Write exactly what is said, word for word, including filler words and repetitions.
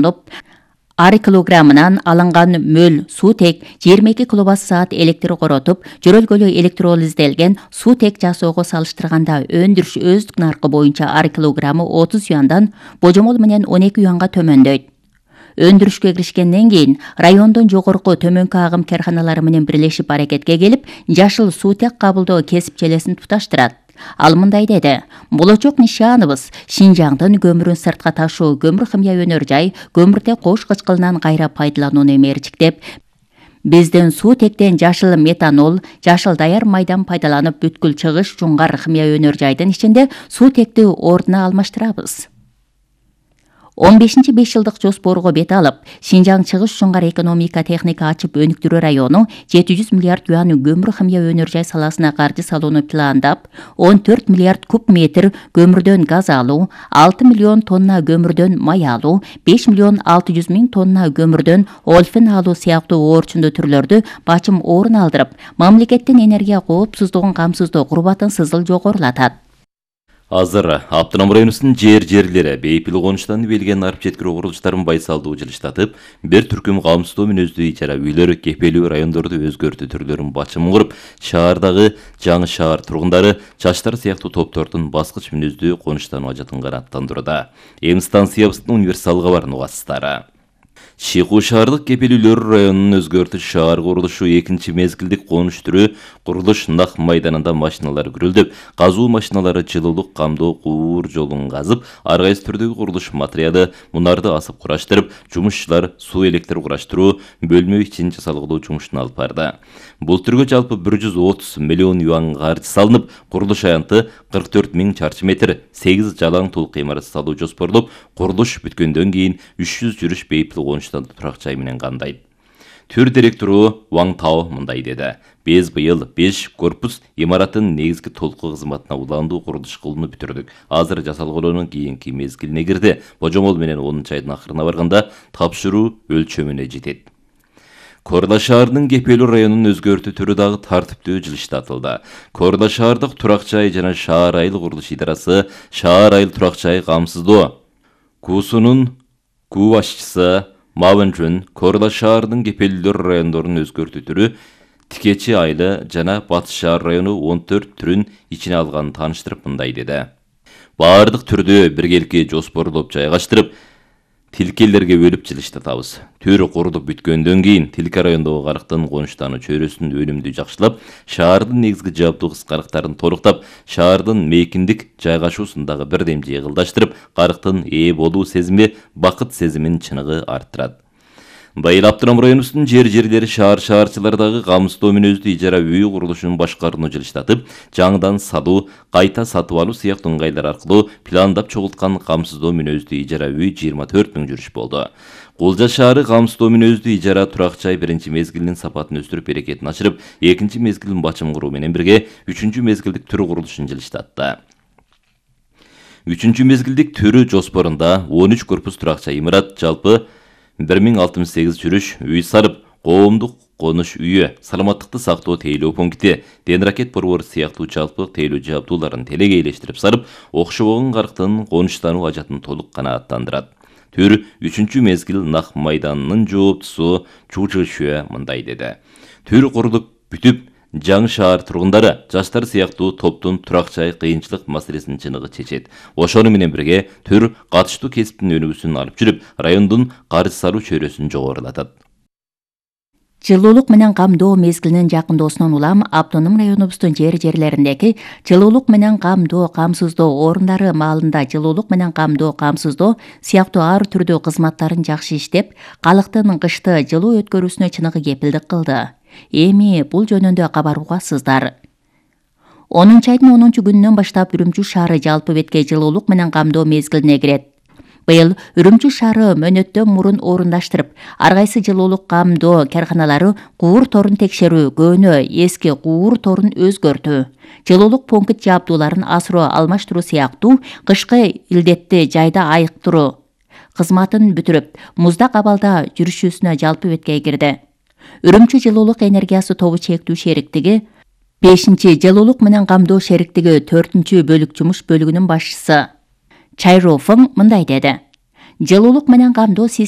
алынып, ар килограммынан алынган мөл суутек жыйырма эки киловатт саат электр коротуп, жөрөлгөлү электролизделген суутек жасоого салыштырганда өндүрүш өздүк наркы боюнча ар килограммы отуз юандан божомол менен он эки юанга төмөндөйт. Өндүрүшкө киришкенден кийин райондун жогорку төмөнкү агым карханалары менен бирлешип аракетке келип, жашыл суутек кабылдоо кесипчелесин туташтырат. Ал мындай деди: "Болочок нишаныбыз Шинжаңдын көмүрүн сыртка ташуу көмүр химия өнөр жай көмүртек кош кычкылынан кайра пайдаланууну эмерчиктеп, биздин суутектен жашыл метанол, жашыл даяр майдан пайдаланып бүткүл чыгыш жуңгар химия өнөр жайдын ичинде суутекти ордуна алмаштырабыз." он бешинчи беш жылдык жоспорго бет алып, Шинжаң чыгыш жуңгар экономика техника ачып өнүктүрүү району жети жүз миллиард юан көмүр химия өнөр жай саласына каржы салууну пландап, он төрт миллиард куб метр көмүрдөн газ алуу, алты миллион тонна көмүрдөн май алуу, беш миллион алты жүз миң тонна көмүрдөн олфин алуу сыяктуу оорчундуу түрлөрдү бачым орун алдырып, мамлекеттин энергия коопсуздугун камсыздоо курбатын сызыл жогорулатат. Азыр Автоном районунун жер-жерлери бейпил конуштан белген арып жеткирүү курулуштарын байсалдуу жылыштатып, бир түркүм камсыздоо мүнөздүү ижара үйлөр кепелүү райондорду өзгөртүү түрлөрүн бачым куруп, шаардагы жаңы шаар тургундары жаштар сыяктуу топтордун баскыч мүнөздүү конуштануу ажатын канааттандырууда. Эм станциябыздын универсалга бар нугасыздары. Шику шаардык кепелүүлөр районунун өзгөртүш шаар курулушу экинчи мезгилдик конуш түрү курулуш нак майданында машиналар күрөлдөп, казуу машиналары жылуулук камдоо куур жолун казып, ар кайсы түрдөгү курулуш материалы мунарды асып кураштырып, жумушчулар суу электр кураштыруу, бөлмө ичин жасалгылоо жумушун алып барды. Бул түргө жалпы бир жүз отуз миллион юан каржы салынып, курулуш аянты кырк төрт миң чарчы метр, сегиз жалаң толук имарат салуу жоспорлоп, курулуш бүткөндөн кийин үч жүз жүрүш бейпил конуштан турак жай менен кандайт. Түр директору Ваң Тао мындай деди: "Биз быйыл беш корпус имараттын негизги толук кызматына уландуу курулуш кылууну бүтүрдүк. Азыр жасалгылоонун кийинки мезгилине кирди. Божомол менен онунчу айдын акырына барганда тапшыруу өлчөмүнө жетет." Корла шаарынын кепелүү районунун өзгөртүү түрү дагы тартиптүү жылыштатылды. Корла шаардык турак жай жана шаар айыл курулуш идарасы шаар айыл турак жай камсыздоо куусунун күү башчысы Мавынжун Корла шаарынын кепелүүлөр райондорунун өзгөртүү түрү Тикечи айылы жана Батыш шаар району он төрт түрүн ичине алганын тааныштырып мындай деди: "Баардык түрдү биргеликке жоспорлоп жайгаштырып, тилкелерге бөлүп жылыштатабыз. Түр курулуп бүткөндөн кийин тилке райондогу карыктын конуштануу чөйрөсүн өнүмдүү жакшылап, шаардын негизги жабдуу кыскарыктарын толуктап, шаардын мейкиндик жайгашуусундагы бирдем жыйгылдаштырып, карыктын ээ болуу сезими, бакыт сезимин чыныгы арттырат. Быйыл Автоном районунун жер-жерлери шаар-шаарчылардагы камсыздоо мүнөздүү ижара үй курулушун башкарууну жылыштатып, жаңыдан салуу, кайта сатып алуу сыяктуу ыңгайлар аркылуу пландап чогулткан камсыздоо мүнөздүү ижара үй жыйырма төрт миң жүрүш болду. Кулжа шаары камсыздоо мүнөздүү ижара турак жай биринчи мезгилинин сапатын өстүрүп, берекетин ачырып, экинчи мезгилин бачым куруу менен бирге үчүнчү мезгилдик түр курулушун жылыштатты. Үчүнчү мезгилдик түрү жоспорунда он үч корпус турак жай имарат, жалпы бир миң алтымыш сегиз жүрүш, үй сарып, коомдук конуш үйү, саламаттыкты сактоо тейлөө пункти, ден ракет борбор сыяктуу жалпы тейлөө жабдууларын телегейлештирип сарып, окшобогон карыктын конуштануу ажатын толук канааттандырат. Түр үчүнчү мезгил нак майданынын жооптусу Чучы Шүө мындай деди: "Түр курулуп бүтүп, жаңы шаар тургундары жаштар сыяктуу топтун турак жай кыйынчылык маселесин чыныгы чечет. Ошону менен бирге түр катыштуу кесиптин өнүгүүсүн алып жүрүп, райондун каржы салуу чөйрөсүн жогорулатат." Жылуулук менен камдоо мезгилинин жакындоосунан улам Автоном районубуздун жер-жерлериндеги жылуулук менен камдоо камсыздоо орундары маалында жылуулук менен камдоо камсыздоо сыяктуу ар түрдүү кызматтарын жакшы иштеп, калктын кышты жылуу өткөрүүсүнө чыныгы кепилдик кылды. Эми бул жөнүндө кабар угасыздар. онунчу айдын онунчу күнүнөн баштап Үрүмчү шаары жалпы бетке жылуулук менен камдоо мезгилине кирет. Быйыл Үрүмчү шаары мөөнөттөн мурун орундаштырып, ар кайсы жылуулук камдоо карханалары куур торун текшерүү, көөнө эски куур торун өзгөртүү, жылуулук пункт жабдууларын асыруу алмаштыруу сыяктуу кышкы илдетти жайда айыктыруу кызматын бүтүрүп, муздак абалда жүрүшүүсүнө жалпы бетке кирди. Үрүмчү жылуулук энергиясы тобу чектүү шериктиги бешинчи жылуулук менен камдоо шериктиги төртүнчү бөлүк жумуш бөлүгүнүн башчысы Чайрофың мындай деди: "Жылуулук менен камдоо